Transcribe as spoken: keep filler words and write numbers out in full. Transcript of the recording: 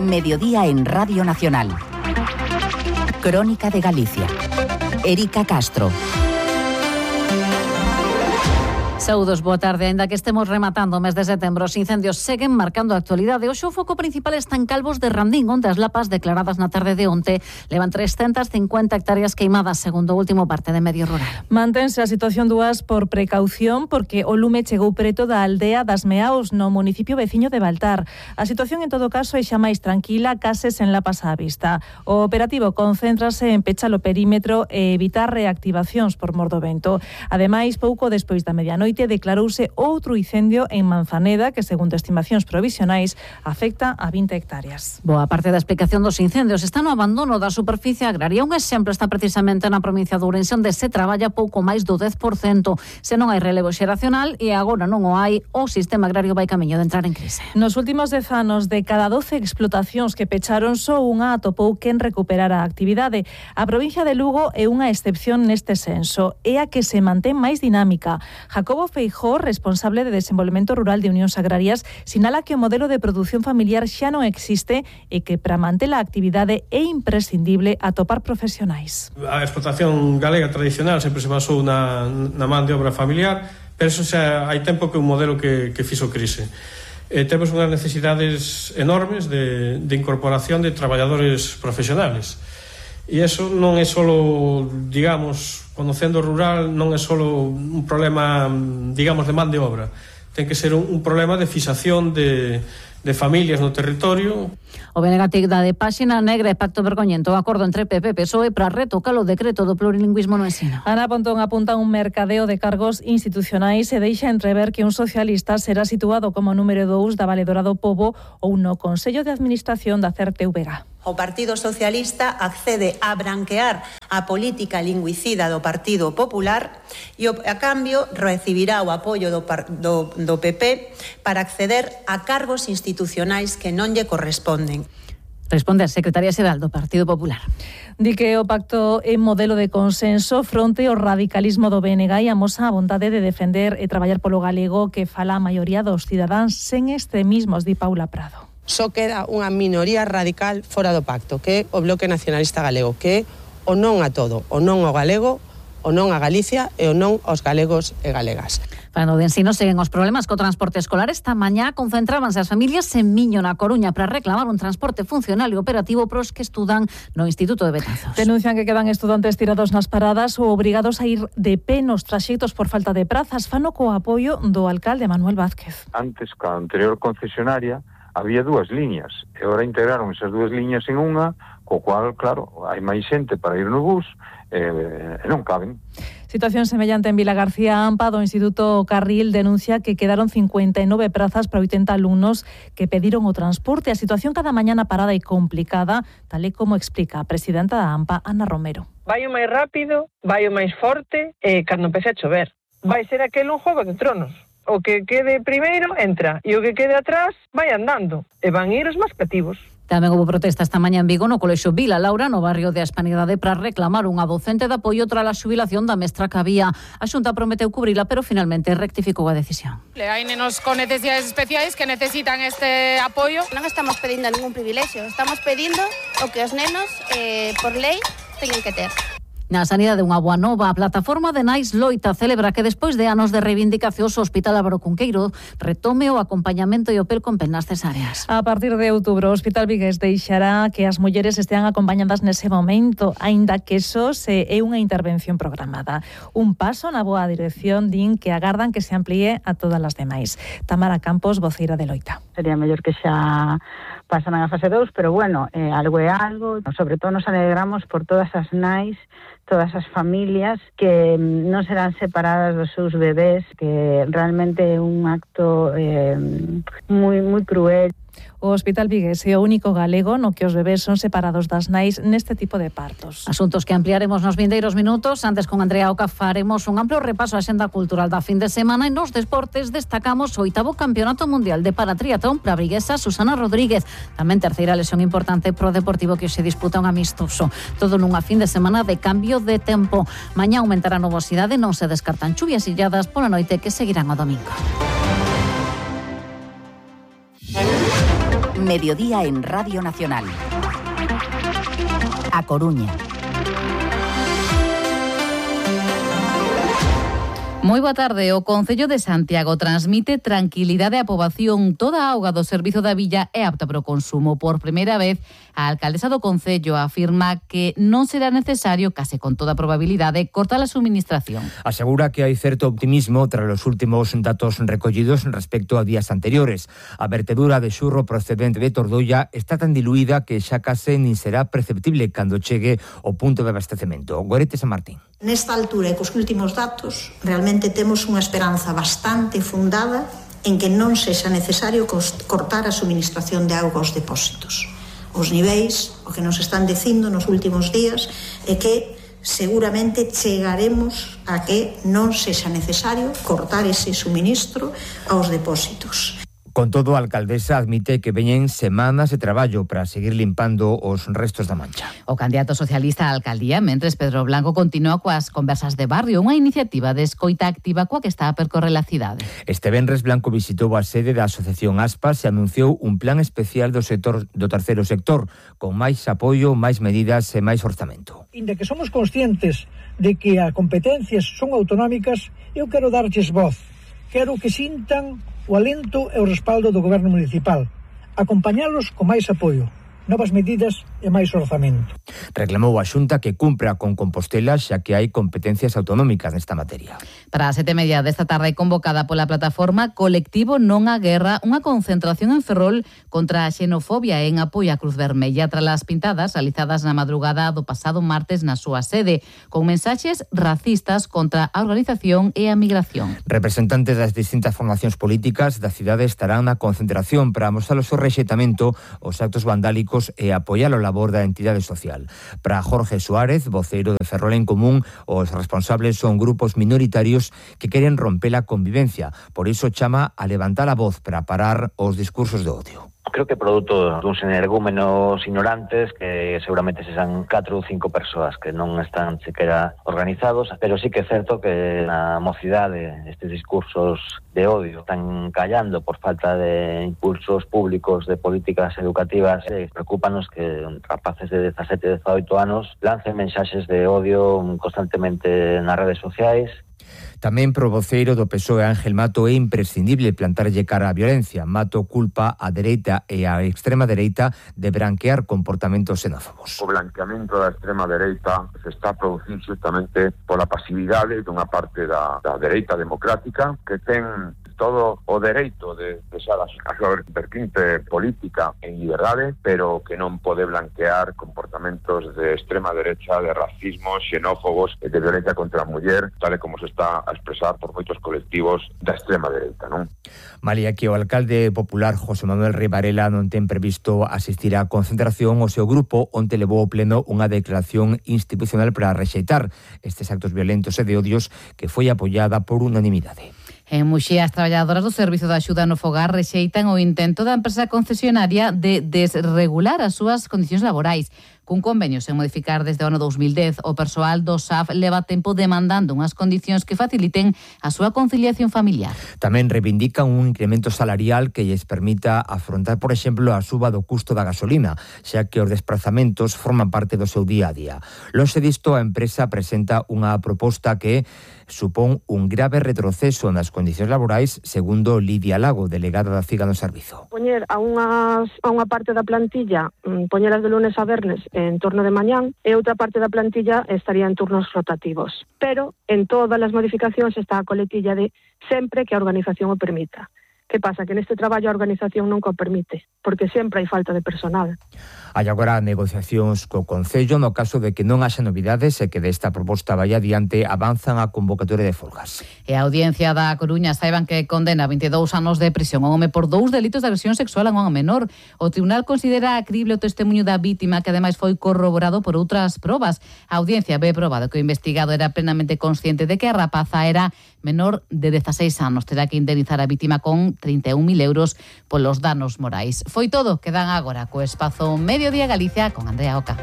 Mediodía en Radio Nacional. Crónica de Galicia. Erika Castro. Saúdos, boa tarde. Aínda que estemos rematando o mes de setembro, os incendios seguen marcando a actualidade. Hoxe o foco principal está en Calvos de Randín, onde as lapas declaradas na tarde de onte levan trescentas cincuenta hectáreas queimadas, segundo o último parte de Medio Rural. Mantense a situación dúas por precaución, porque o lume chegou preto da aldea das Meaos, no municipio veciño de Baltar. A situación, en todo caso, é xa máis tranquila, case sen lapas á vista. O operativo concéntrase en pechar o perímetro e evitar reactivacións por mor do vento. Ademais, pouco despois da medianoite, declarouse outro incendio en Manzaneda que, segundo estimacións provisionais, afecta a vinte hectáreas. Boa parte da explicación dos incendios está no abandono da superficie agraria. Un exemplo está precisamente na provincia de Ourense, onde se traballa pouco máis do dez por cento. Se non hai relevo xeracional, e agora non o hai, o sistema agrario vai camiño de entrar en crise. Nos últimos dez anos, de cada doce explotacións que pecharon, só unha atopou quen recuperara a actividade. A provincia de Lugo é unha excepción neste senso. É a que se mantén máis dinámica. Jacobo Feijó, responsable de Desenvolvemento Rural de Unións Agrarias, sinala que o modelo de produción familiar xa non existe e que para manter a actividade é imprescindible atopar profesionais. A explotación galega tradicional sempre se basou na, na man de obra familiar, pero eso xa hai tempo que é un modelo que, que fixo crise. Eh, temos unhas necesidades enormes de, de incorporación de traballadores profesionales. E iso non é solo, digamos, conocendo o rural, non é solo un problema, digamos, de man de obra. Ten que ser un, un problema de fixación de, de familias no territorio. O B N G dá de páxina negra e pacto vergoñento o acordo entre P P e P S O E para retocar o decreto do plurilingüismo no ensino. Ana Pontón apunta un mercadeo de cargos institucionais e deixa entrever que un socialista será situado como número dous da valedora do Pobo ou no Consello de Administración da C E R T V G. O Partido Socialista accede a branquear a política lingüicida do Partido Popular e, a cambio, recibirá o apoio do, do, do P P para acceder a cargos institucionais que non lle corresponden. Responde a secretaria xeral do Partido Popular. Di que o pacto é modelo de consenso fronte ao radicalismo do B N G e amosa a vontade de defender e traballar polo galego que fala a maioría dos cidadáns sen extremismos, di Paula Prado. Só queda unha minoría radical fora do pacto, que é o Bloque Nacionalista Galego, que é o non a todo, o non ao galego, o non a Galicia e o non aos galegos e galegas. Falando de ensino, seguen os problemas co transporte escolar. Esta mañá concentrábanse as familias en Miño, na Coruña, para reclamar un transporte funcional e operativo pros que estudan no Instituto de Betanzos. Denuncian que quedan estudantes tirados nas paradas ou obrigados a ir de pé nos traxectos por falta de prazas. Fano co apoio do alcalde Manuel Vázquez. Antes, ca anterior concesionaria, había dúas liñas, e agora integraron esas dúas liñas en unha, co cual, claro, hai máis xente para ir no bus, e, e non caben. Situación semellante en Vila García Ampa, do Instituto Carril, denuncia que quedaron cincuenta e nove prazas para oitenta alumnos que pediron o transporte. A situación cada mañana parada e complicada, tal e como explica a presidenta da Ampa, Ana Romero. Vai o máis rápido, vai o máis forte, e cando empece a chover. Vai ser aquel un Juego de Tronos. O que quede primeiro entra e o que quede atrás vai andando e van ir os máis cativos. Tamén houve protesta esta mañá en Vigo no Colexio Vila Laura, no barrio de Hispanidade, para reclamar unha docente de apoio tras a xubilación da mestra que había. A Xunta prometeu cubrila, pero finalmente rectificou a decisión. Hai nenos con necesidades especiais que necesitan este apoio. Non estamos pedindo ningún privilexio, estamos pedindo o que os nenos, eh, por lei, teñen que ter. Na sanidade, unha boa nova. A plataforma de Nais Loita celebra que despois de anos de reivindicacións o Hospital Álvaro Cunqueiro retome o acompañamento e o pel con pel nas cesáreas. A partir de outubro, o Hospital Vigués deixará que as mulleres estean acompañadas nese momento, aínda que eso se é unha intervención programada. Un paso na boa dirección, din que agardan que se amplíe a todas as demais. Tamara Campos, voceira de Loita. Sería mellor que xa pasan a fase dous, pero bueno, eh, algo é algo. Sobre todo nos alegramos por todas as nais, todas as familias que non serán separadas dos seus bebés, que realmente é un acto eh, moi moi cruel. O Hospital Vigués é o único galego no que os bebés son separados das nais neste tipo de partos. Asuntos que ampliaremos nos vindeiros minutos. Antes, con Andrea Oca, faremos un amplo repaso á xenda cultural da fin de semana, e nos deportes destacamos o oitavo Campeonato Mundial de Paratriatlón para a briguesa Susana Rodríguez. Tamén terceira lesión importante pro Deportivo, que se disputa un amistoso. Todo nunha fin de semana de cambio de tempo. Mañá aumentará a nubosidade, non se descartan chuvias illadas pola noite que seguirán o domingo. Mediodía en Radio Nacional. A Coruña. Moi boa tarde. O Concello de Santiago transmite tranquilidade á poboación. Toda a auga do servizo da villa é apta para o consumo. Por primeira vez, a alcaldesa do Concello afirma que non será necesario, case con toda probabilidade, cortar a suministración. Asegura que hai certo optimismo tras os últimos datos recollidos respecto a días anteriores. A vertedura de xurro procedente de Tordolla está tan diluída que xa case nin será perceptible cando chegue o punto de abastecemento. Gorete San Martín. Nesta altura e cos últimos datos, realmente temos unha esperanza bastante fundada en que non sexa necesario cortar a suministración de auga aos depósitos. Os niveis, o que nos están dicindo nos últimos días, é que seguramente chegaremos a que non sexa necesario cortar ese suministro aos depósitos. Con todo, a alcaldesa admite que veñen semanas de traballo para seguir limpando os restos da mancha. O candidato socialista á alcaldía, mentres Pedro Blanco continúa coas conversas de barrio, unha iniciativa de escoita activa coa que está a percorrer a cidade. Este venres Blanco visitou a sede da Asociación Aspas e anunciou un plan especial do sector do terceiro sector, con máis apoio, máis medidas e máis orzamento. Inda que somos conscientes de que as competencias son autonómicas, eu quero darlles voz. Quero que sintan o alento e o respaldo do goberno municipal, acompañalos con máis apoio, novas medidas e máis orzamento. Reclamou a Xunta que cumpra con Compostela, xa que hai competencias autonómicas nesta materia. Para as sete e media desta tarde, convocada pola plataforma Colectivo Non á Guerra, unha concentración en Ferrol contra a xenofobia en apoio á Cruz Vermella tras as pintadas realizadas na madrugada do pasado martes na súa sede, con mensaxes racistas contra a organización e a migración. Representantes das distintas formacións políticas da cidade estarán na concentración para mostrar o seu rexeitamento aos actos vandálicos e apoiar o labor da entidade social. Para Jorge Suárez, voceiro de Ferrol en Común, os responsables son grupos minoritarios que queren romper a convivencia. Por iso chama a levantar a voz para parar os discursos de odio. Creo que produto duns energúmenos ignorantes que seguramente se san catro ou cinco persoas que non están sequera organizados, pero sí que é certo que na mocidade estes discursos de odio están callando por falta de impulsos públicos de políticas educativas. E preocúpanos que rapaces de dezasete e dezaoito anos lancen mensaxes de odio constantemente nas redes sociais. Tamén pro voceiro do P S O E Ángel Mato é imprescindible plantarlle cara á violencia. Mato culpa a dereita e a extrema dereita de branquear comportamentos xenófobos. O blanqueamento da extrema dereita se está producindo justamente pola pasividade dunha parte da, da dereita democrática que ten todo o dereito de deixar a súa vertente política en liberdade, pero que non pode blanquear comportamentos de extrema derecha, de racismo, xenófobos e de violencia contra a muller, tal e como se está a expresar por moitos colectivos da extrema dereita, non? Malia que o alcalde popular José Manuel Rey Varela non ten previsto asistir á concentración, o seu grupo onte levou ao pleno unha declaración institucional para rexeitar estes actos violentos e de odios que foi apoiada por unanimidade. En Muxía, as traballadoras do Servizo de Axuda no Fogar rexeitan o intento da empresa concesionaria de desregular as súas condicións laborais. Cun convenio sen modificar desde o ano dous mil dez, o persoal do S A F leva tempo demandando unhas condicións que faciliten a súa conciliación familiar. Tamén reivindican un incremento salarial que lles permita afrontar, por exemplo, a suba do custo da gasolina, xa que os desplazamentos forman parte do seu día a día. Lonxe disto, a empresa presenta unha proposta que supón un grave retroceso nas condicións laborais, segundo Lidia Lago, delegada da CIGA no servizo. Poñer a, unhas, a unha parte da plantilla, poñelas de lunes a vernes en turno de mañán, e outra parte da plantilla estaría en turnos rotativos. Pero en todas as modificacións está a coletilla de sempre que a organización o permita. Que pasa? Que neste traballo a organización non o permite, porque sempre hai falta de personal. Hai agora negociacións co Concello no caso de que non haxa novidades e que desta proposta vai adiante avanzan a convocatoria de folgas. E a Audiencia da Coruña saiban que condena vinte e dous anos de prisión a un home por dous delitos de agresión sexual a unha menor. O tribunal considera crible o testemunho da vítima, que ademais foi corroborado por outras probas. A Audiencia ve probado que o investigado era plenamente consciente de que a rapaza era menor de dezaseis anos. Terá que indemnizar a vítima con trinta e un mil euros polos danos morais. Foi todo, quedan agora co espazo Mediodía Galicia con Andrea Oca.